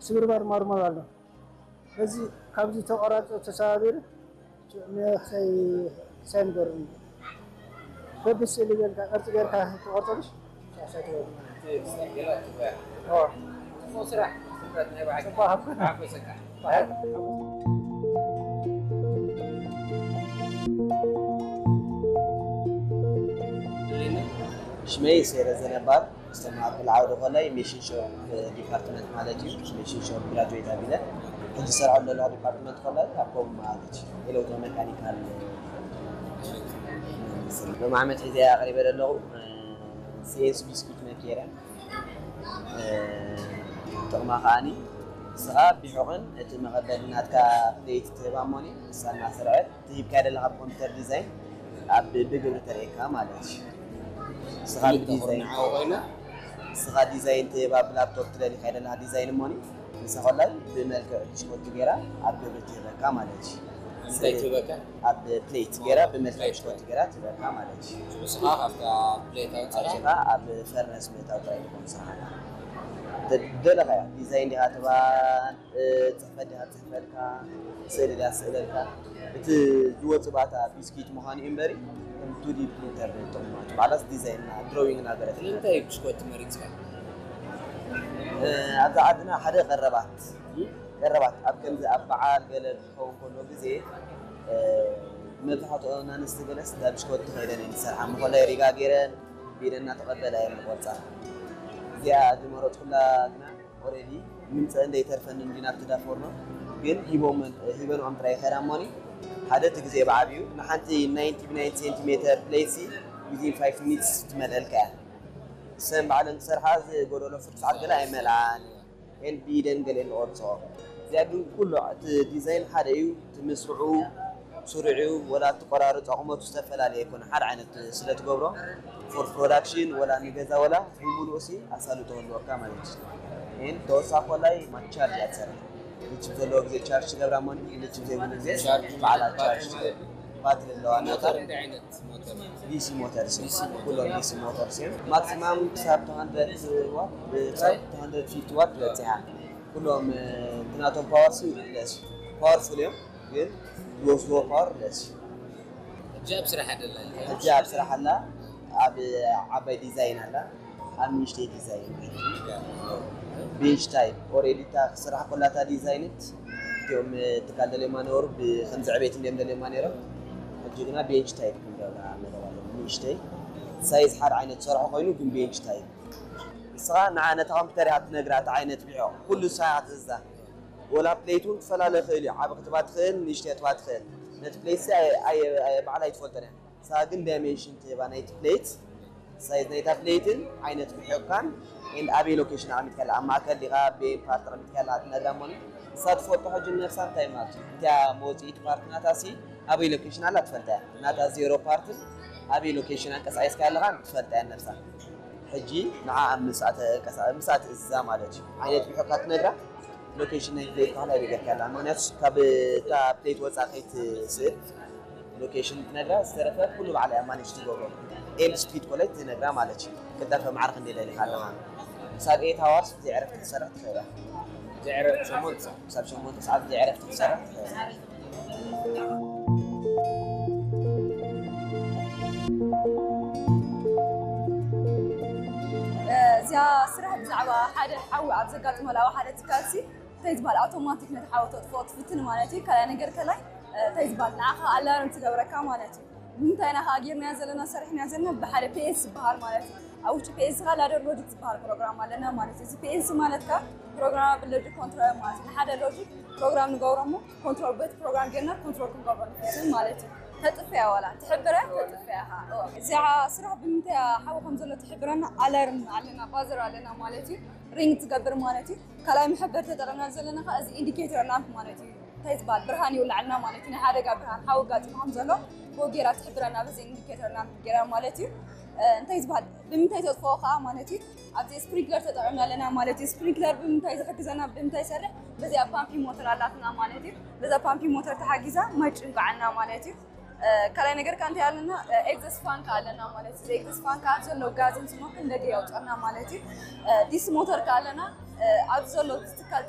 ስብርባር ማርማር ኣሎ። በዚ ካብዚ ተቆራርጾ ተሰባቢሩ ንክሳይ ክሳይ ንገሩ እዩ። በብስእሊ ጌርካ ቅርጺ ጌርካ ትቆርጸልሽ። ሽመይ ሴረ ዘነባር ዝተማሃርኩሉ ዓውዲ ኮላይ ሜሽን ሾፕ ዲፓርትመንት ማለት እዩ። ሜሽን ሾፕ ግራጁዌት ኣቢለ ሕጂ ዝሰርሐሉ ዘለኹ ዲፓርትመንት ኮላይ ኣብ ኮም ማለት እዩ። ኤሌክትሮ ሜካኒካል ሎም ዓመት ሒዘ ኣቕሪበ ዘለኹ ሲኤንሲ ቢስኩት ነኪረ ጥቕማ ከዓኒ ንስኻ ቢሑቕን እቲ መቐበሊ ናትካ ክደይቲ ትህባ እሞኒ ንሳ እናሰርዐት ትሂብካዮ ዘለኻ ብኮምፒተር ዲዛይን ኣብ ብግብሪ ተርእየካ ማለት እዩ። ንስኻ ብዲዛይን ንስኻ ዲዛይን ትህባ ብላፕቶፕ ትደሊካዮ ዘለኻ ዲዛይን እሞኒ ንሳ ኮላይ ብመልክዕ ብሽኮቲ ገይራ ኣብ ግብሪ ትህበካ ማለት እዩ። እንታይ ትህበካ? ኣብ ፕሌት ገይራ ብመልክዕ ብሽኮቲ ገይራ ትህበካ ማለት እዩ። ንስኻ ካብታ ፕሌት ኣውፅኻ ኣውፅኻ ኣብ ፈርነስ ምእታው ጥራይ ዝኾን ስራሕካ። ደለኻያ ዲዛይን ዲኻ ትባ ፅሕፈት ዲኻ ትፅሕፈልካ ስእሊ ዲያ ስእለልካ እቲ ዝወፅ ባታ ቢስኪት ምዃኑ እዩ እምበሪ ከም ቱዲ ፕሪንተር ጥቕሙ ማለት ዲዛይን ድሮዊንግ እናገረትልካ እንታይ ብሽኮቲ መሪፅካ? ኣብዛ ዓድና ሓደ ቀረባት ቀረባት ኣብ ከምዚ ኣብ በዓል ገለ ክኸውን ከሎ ግዜ መብዛሕትኦ ኣንስቲ ገለስ እንዳ ብሽኮቲ ከይደን እየን ዝሰርሓ ምኾላይ ሪጋ ገይረን ብኢደን እናተቐበላ እየን ዝቆርፃ። እዚኣ ዝመረፅኩላ ግና ኦሬዲ ምምፀእን ዘይተርፈንን እንዲ ናብቲ ዳፎርኖ ግን ሂቦመን ሂበንኦም ጥራይ ይኸዳ እሞኒ ሓደ እቲ ግዜ ብዓብዩ ንሓንቲ ናይንቲ ብናይንቲ ሴንቲሜተር ፕሌትሲ ዊዚን ፋይቭ ሚኒትስ ትመልአልካ እያ። ሰን ባዕለን ክሰርሓ ዝጎደሎ ፍርቂ ሰዓት ገለ ኣይመልኣን እየን ብኢደን ገለ ንቆርፅኦ። እዚኣ ግን ኩሉ እቲ ዲዛይን ሓደ እዩ እቲ ምስርዑ ስሩዕ እዩ ወላ እቲ ቆራርፃ ቁመቱ ዝተፈላለየ ኣይኮነ ሓደ ዓይነት ስለ ትገብሮ ፎር ፕሮዳክሽን ወላ ንገዛ ወላ ብምሉእ ሲ ኣሳልጦ ህልወካ ማለት እዩ። ይህን ተወሳኺ ኮላይ ማቻርጅ እያ ትሰርሕ ልችብ ዘለዎ ግዜ ቻርጅ ትገብራ እሞ ልችብ ዘይብሉ ግዜ በዓላ ቻርጅ ትገብር ባትሪ ኣለዋ ናታ። ዲሲ ሞተርስ እዮም። ኩሎም ዲሲ ሞተርስ እዮም። ማክሲማም ክሳብ two hundred ዋት ክሳብ two hundred fifty ዋት ትበፅሕ እያ። ኩሎም እቲ ናቶም ፓወር ሲ ለስ ፓወርፉል እዮም ግን ዝወስድዎ ፓወር ለስ እዩ። ሕጂ ኣብ ስራሕ ኣደላ ሕጂ ኣብ ስራሕ ኣላ ኣብ ዓባይ ዲዛይን ኣላ ኣብ ንእሽተይ ዲዛይን ቤንች ታይፕ ኦሬዲ እታ ክስራሕ ኮላታ ዲዛይንት እቲኦም ትካል ደልዮማ ነበሩ ብከምዚ ዕቤት እንዲኦም ደልዮማ ነይሮም ሕጂ ግና ቤንች ታይፕ ክንገብራ መደብ ኣለና ንእሽተይ ሳይዝ ሓደ ዓይነት ዝሰርሖ ኮይኑ ግን ቤንች ታይፕ ንስኻ ንዓ ነታ ኮምፒተር ኢኻ ትነግራ እቲ ዓይነት ቢዖ ኩሉ ንሳ ኢኻ ትእዝዛ ወላ ፕሌት እውን ክፈላለ ይኽእል እዩ ዓብ ክትባ ትኽእል ንእሽተይ ክትባ ትኽእል ነቲ ፕሌት ሲ ባዕላ ኣይትፈልጦን እያ ንስኻ ግን ዳይሜንሽን ትህባ ናይቲ ፕሌት ሳይዝ ናይታ ፕሌትን ዓይነት ብሕቕካን ኤንድ ኣበይ ሎኬሽን ኣቐሚጥካላ ኣብ ማእከል ዲኻ ቤን ፓርት ኣቐሚጥካላ ትነግራ እሞ ንሳ ትፈልጦ ሕጂ ነፍሳ እንታይ ማለት እዩ እቲያ መወፅኢት ፓርት ናታ ሲ ኣበይ ሎኬሽን ኣላ ትፈልጣ እያ ናታ ዜሮ ፓርትን ኣበይ ሎኬሽን ኣንቀሳቂስካ ኣለኻ ትፈልጣ እያ ነፍሳ ሕጂ ንዓ ኣብ ምሳእ ተንቀሳ ምሳእ ትእዝዛ ማለት እዩ ዓይነት ብሕቕካ ትነግራ ሎኬሽን ናይ ፕሌት ባህላ ይነገርካ ኣላ ምክንያቱ ካብ እታ ፕሌት ወፃ ከይትስእል ሎኬሽን ትነግራ ዝተረፈ ኩሉ ባዕላ እያ ማኔጅ ትገብሮ ኤንድ ስፒድ ኮላይ ትነግራ ማለት እዩ ክጠፈ ማዕረ ክንደይ ደሊካ ኣለኻ ክሳብ ኤት ኣዋርስ ብዘይ ዕረፍቲ ክትሰርሕ ትኽእል እያ ዘዕረፍ ሸሞንተ ክሳብ ሸሞንተ ሰዓት ብዘይ ዕረፍቲ ክትሰርሕ ትኽእል እያ እዚኣ ስራሕ ብዛዕባ ሓደ ሓዊ ኣብ ዘጋጥመሉ ኣብ ሓደ ትካል ሲ እንታይ ዝበሃል ኣውቶማቲክ ነቲ ሓዊ ተጥፍኦ ትፍትን ማለት እዩ ካልኣይ ነገር ከላይ እንታይ ዝበሃል ንዓኻ ኣላርም ትገብረካ ማለት እዩ ንምንታይ ኢና ከዓ ጌርናዮ ዘለና ሰሪሕናዮ ዘለና ብሓደ ፒኤስ ዝበሃል ማለት እዩ ኣብ ውሽጢ ፒኤስ ከዓ ላደር ሎጂክ ዝበሃል ፕሮግራም ኣለና ማለት እዩ እዚ ፒኤስ ማለት ከዓ ፕሮግራማብል ሎጂክ ኮንትሮል ማለት እዩ ንሓደ ሎጂክ ፕሮግራም ንገብሮ እሞ ኮንትሮል በቲ ፕሮግራም ጌርና ኮንትሮል ክንገብሮ ንፍትን ማለት እዩ ተጥፍያ ዋላ ትሕብረ ተጥፍያ እዚኣ ስራሕ ብምንታይ ሓዊ ከም ዘሎ ትሕብረና ኣላርም ኣለና ባዘር ኣለና ማለት እዩ ሪንግ ትገብር ማለት እዩ ካልኣይ መሐበሪ ተጠቐምና ዘለና ከዓ እዚ ኢንዲኬተር ላምፕ ማለት እዩ እንታይ ዝበሃል ብርሃን ይውላዕልና ማለት እዩ ናይ ሓደጋ ብርሃን ሓዊ ጋጢሙ ከም ዘሎ ብኡ ጌራ ትሕብረና በዚ ኢንዲኬተር ላምፕ ጌራ ማለት እዩ እንታይ ዝበሃል ብምንታይ ተጥፍኦ ከዓ ማለት እዩ ኣብዚ ስፕሪንክለር ተጠቐምና ኣለና ማለት እዩ ስፕሪንክለር ብምንታይ ዝሕግዘና ብምንታይ ይሰርሕ በዚኣ ፓምፒ ሞተር ኣላትና ማለት እዩ በዛ ፓምፒ ሞተር ተሓጊዛ ማይ ጭንቋዓና ማለት እዩ ካልኣይ ነገር ከዓ እንታይ ኣለና ኤግዘስ ፋን ከዓ ኣለና ማለት እዩ ኤግዘስ ፋን ከዓ ዘሎ ጋዝን ስሞክን ደገ የውፀና ማለት እዩ ዲሲ ሞተር ከዓ ኣለና ኣብዚ ዘሎ ትካል